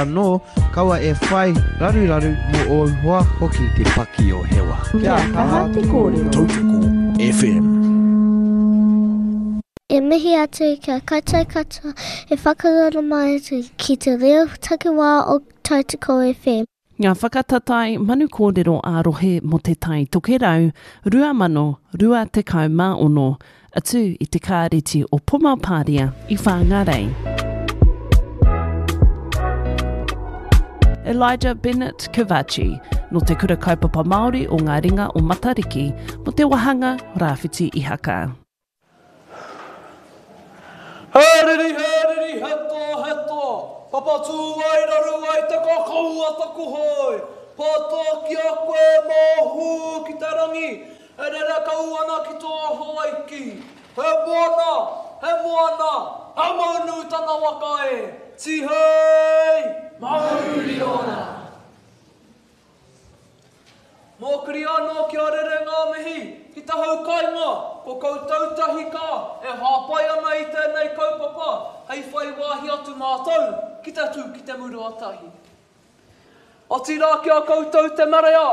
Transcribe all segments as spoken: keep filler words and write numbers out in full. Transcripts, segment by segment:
Anō, kaua e whai raruraru mō ōu hoa hoki. Te paki o Hewa. Kia kaha te kōrero. Tautoko F M. E mihi atu ki a koutou katoa e whakaroro mai atu ki te reo takiwā o Tautoko F M. Ngā whakatatae manu kōrero ā-rohe mō Te Tai Tokerau rua mano rua tekau mā ono, atu i te kāreti o Pomapāria i Whāngārei. Elijah Bennett Kovaci, no te Kura Kaupapa Māori o Ngā Ringa o Matariki, mo te wahanga Rāwhiti Ihaka. He riri, he riri, he toa, he toa, papatū ai raru ai te kakau a taku hoe, pātoa ki a koe mōhū ki te rangi, e rere kau ana ki tō Hawaiki. He moana, he moana, he maunu tana waka e, tihei, mauri ora. Mōkiri anō kia rere ngā mihi ki te hau kainga, ko koutou tahi ka e hāpai ana i tēnei kaupapa hei whai wāhi atu mātou ki te tū ki te muru a tahi. Otirā ki a koutou te marea,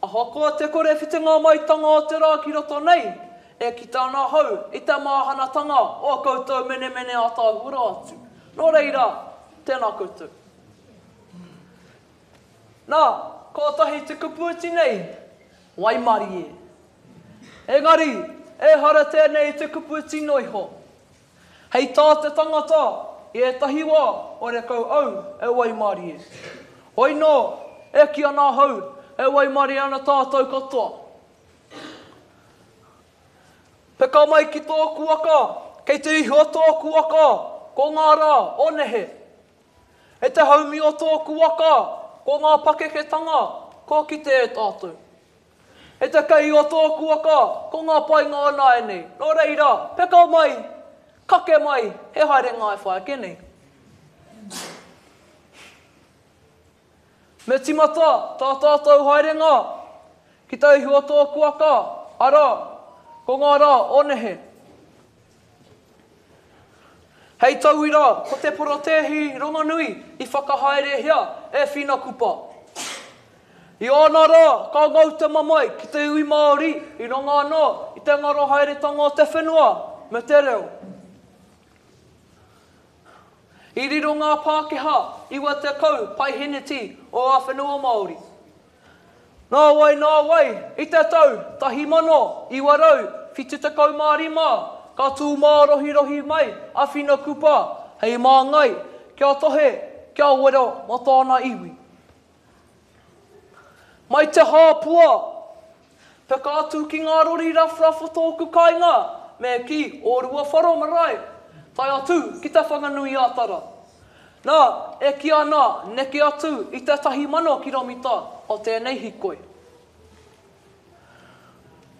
ahakoa te kore whitinga maitanga o te rā ki roto nei, e kite ana hau i te māhanatanga o koutou menemene a tāhura atu. Nō reira, tēnā koutou. Nā, kotahi te kupu iti nei, waimarie. Engari, ehara tēnei te kupu iti noa iho. Hei tā te tangata, i ētahi wā, horekau au e waimarie. Hoi nō, e ki ana hau, e waimarie ana tātou katoa. Peka mai ki tōku waka, kei te iho tōku waka, ko ngā rā o nehe. E te haumi o tōku waka, ko ngā pakeketanga, ko kite e tātou. E te kei o tōku waka, ko ngā painga o nāianei. Nō reira, peka mai, kake mai, he haere ngā e whai ake nei. Me timata tā tātou haerenga ki te ihu o tōku waka, arā, ko ngā rā o nehe. Hei tauira, ko te porotēhi rongonui i whakahaerehia e Whina Kupa. I ōna rā, ka ngau te mamae ki te iwi Māori i runga anō i te ngaro haeretanga o te whenua me te reo. I riro ngā Pākehā iwa tekau paiheneti o ngā whenua Māori. Nā wai, nā wai, i te tau tahi mano, iwa rau, whitu tekau mā rima, ka tū mārohirohi mai a Whina Kupa hei māngai kia tohe, kia wero mō tōna iwi. Mai te hāpua, peka atu ki ngā rori rawhrawh o tōku kāinga, me ki o Ruawharo marae, tae atu ki te Whanganui ā-Tara. Nā, e kī ana neke atu i te tahi mano kiromita o tēnei hikoi.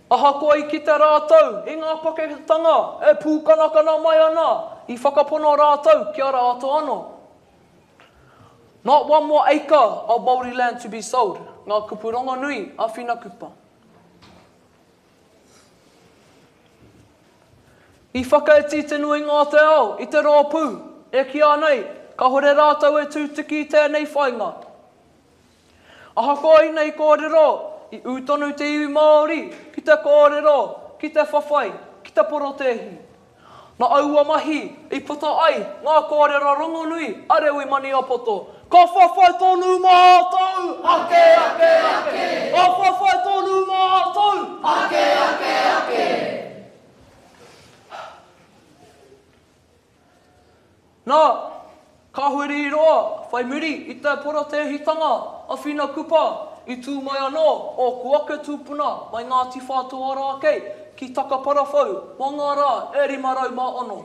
Ahakoa i kite rātou i ngā pakeketanga e pūkanakana mai ana, i whakapono rātou ki a rātou anō. Not one more acre of Māori land to be sold, ngā kupu rongonui a Whina Kupa. I whakaiti te nuinga o te ao i te rōpū, e kīa nei, kāhore rātou e tūtuki i tēnei whainga. Ahakoa inei kōrero, i ū tonu te iwi Māori ki te kōrero, ki te whawhai, ki te porotēhi. Nā aua mahi i puta ai ngā kōrero rongonui a Rewi Maniapoto. Ka whawhai tonu mātou! Ake, ake, ake! Ka whawhai tonu mātou! Ake, ake, ake! Nā, ka huri roa whai muri i te porotēhitanga a Whina Kupa i tū mai anō ōku ake tūpuna mai Ngāti Whātua Rākei ki Takaparawhau mō ngā rā e rima rau mā ono.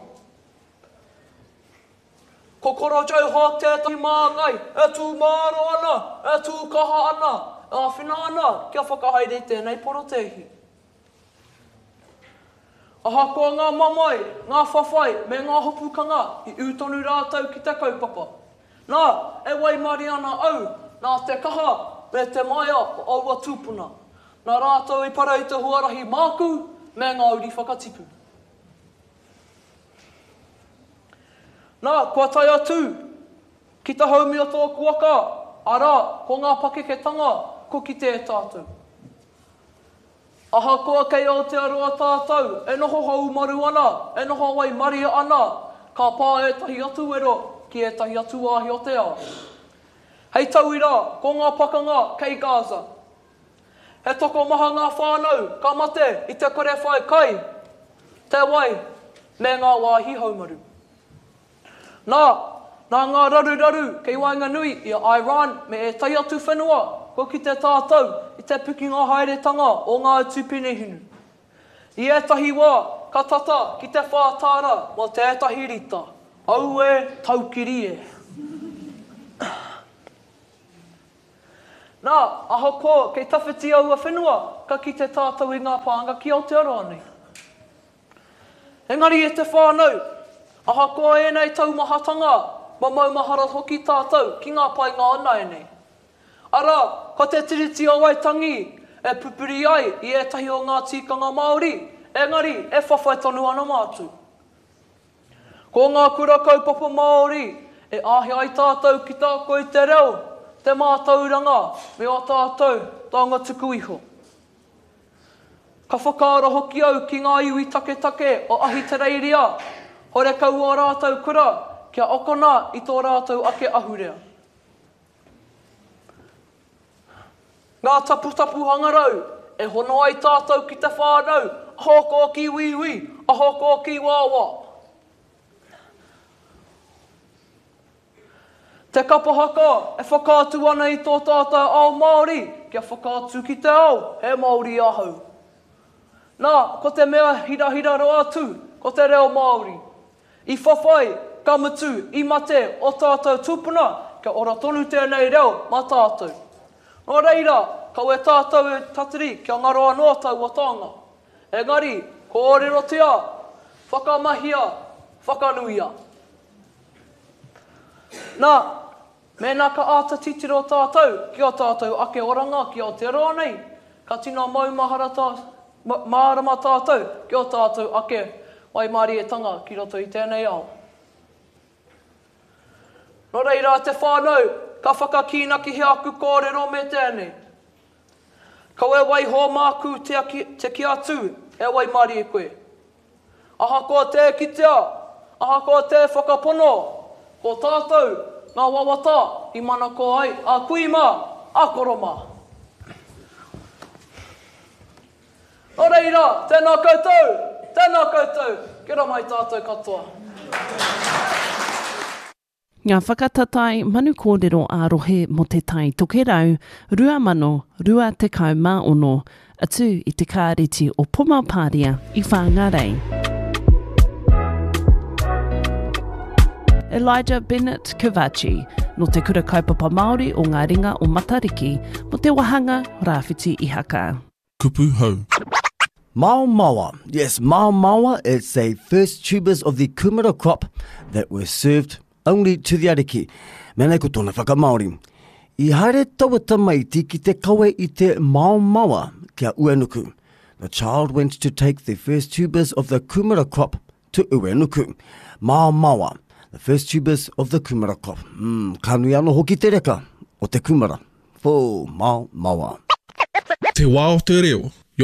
Ko Koro Joe Hawke tētahi māngai e tū māro ana, e tū kaha ana, e āwhina ana kia whakahaere i tēnei porotēhi. Ahakoa ngā mamae, ngā whawhai me ngā hopukanga i ū tonu rātou ki te kaupapa. Nā, e waimarie ana au nā te kaha me te maia o aua tūpuna. Nā rātou i para i te huarahi māku me ngā uri whakatipu. Nā, kua tae atu Ki te haumi o tōku waka, arā, ko ngā pakeketanga, ko kite e tātou. Ahakoa kei Aotearoa tātou e noho haumaru ana, e noho waimaria ana, ka pā ētahi atu wero ki ētahi atu wāhi o te ao. Hei tauira, ko ngā pakanga kei Gaza. He tokomaha ngā whānau ka mate i te kore whai kai, te wai, me ngā wāhi haumaru. Nā, nā ngā raruraru kei waenganui i a Iran me ētahi atu whenua, kua kite tātou i te pikinga haeretanga o ngā utu penehinu. I ētahi wā, ka tata ki te whā tāra mō tētahi rita. Auē, taukiri e! Nā, ahakoa kei tawhiti aua whenua, ka kite tātou i ngā pānga ki Aotearoa nei. Engari e te whānau, ahakoa ēnei taumahatanga, ma maumahara hoki tātou ki ngā painga o nāianei. Arā, ko te Tiriti o Waitangi e pupuri ai i ētahi o ngā tikanga Māori, engari e whawhai tonu ana mātou. Ko ngā kura kaupapa Māori e āhei ai tātou ki te ako i te reo, te mātauranga me ō tātou taonga tuku iho. Ka whakaaro hoki au ki ngā iwi taketake o Ahitereiria, horekau ō rātou kura kia akona i tō rātou ake ahurea. Ngā taputapu hangarau e hono ai tātou ki te whānau, ahakoa ki wīwī, ahakoa ki wāwā. Te kapa haka e whakaatu ana i tō tātou ao Māori, kia whakaatu ki te ao, he Māori ahau. Nā, ko te mea hirahira rawa atu, ko te reo Māori. I whawhai, ka mutu, i mate o tātou tūpuna, kia ora tonu tēnei reo mā tātou. Nō reira, kaua tātou e tatari kia ngaro anō taua taonga. Engari, kōrerotia, whakamahia, whakanuia. Nā, mēnā ka āta titiro tātou ki ō tātou ake oranga ki Aotearoa nei, ka tino maumahara tā, mārama tātou ki ō tātou ake waimārietanga ki roto i tēnei ao. Nō reira te whānau, ka whakakīnakihia aku kōrero me tēnei. Kaua e waiho māku te, aki, te ki atu e waimarie koe. Ahakoa tē kitea, ahakoa tē whakapono, ko tātou ngā wawata i manako ai a kui mā, a koro mā. Nō reira, tēnā koutou, tēnā koutou, kia ora mai tātou katoa. Ngā whakatatae manu kōrero ā-rohe mō Te Tai Tokerau rua mano rua tekau mā ono, atu i te kāreti o Pomapāria i Whāngārei. Elijah Bennett Kovaci, nō Te Kura Kaupapa Māori o Ngā Ringa o Matariki, mō te wāhanga Rāwhiti Ihaka. Kupu hou. Maomaoa. Yes, maomaoa, it's a first tubers of the kumara crop that were served only to the ariki. Mēnei ko tōna whakamāori. I haere taua tamaiti ki te kawe i te maomaoa kia Uenuku. The child went to take the first tubers of the kumara crop to Uenuku. Maomaoa, the first tubers of the kumara crop. Mm, ka nui anō hoki te reka o te kumara. Fō, maomaoa. Te wā o te reo.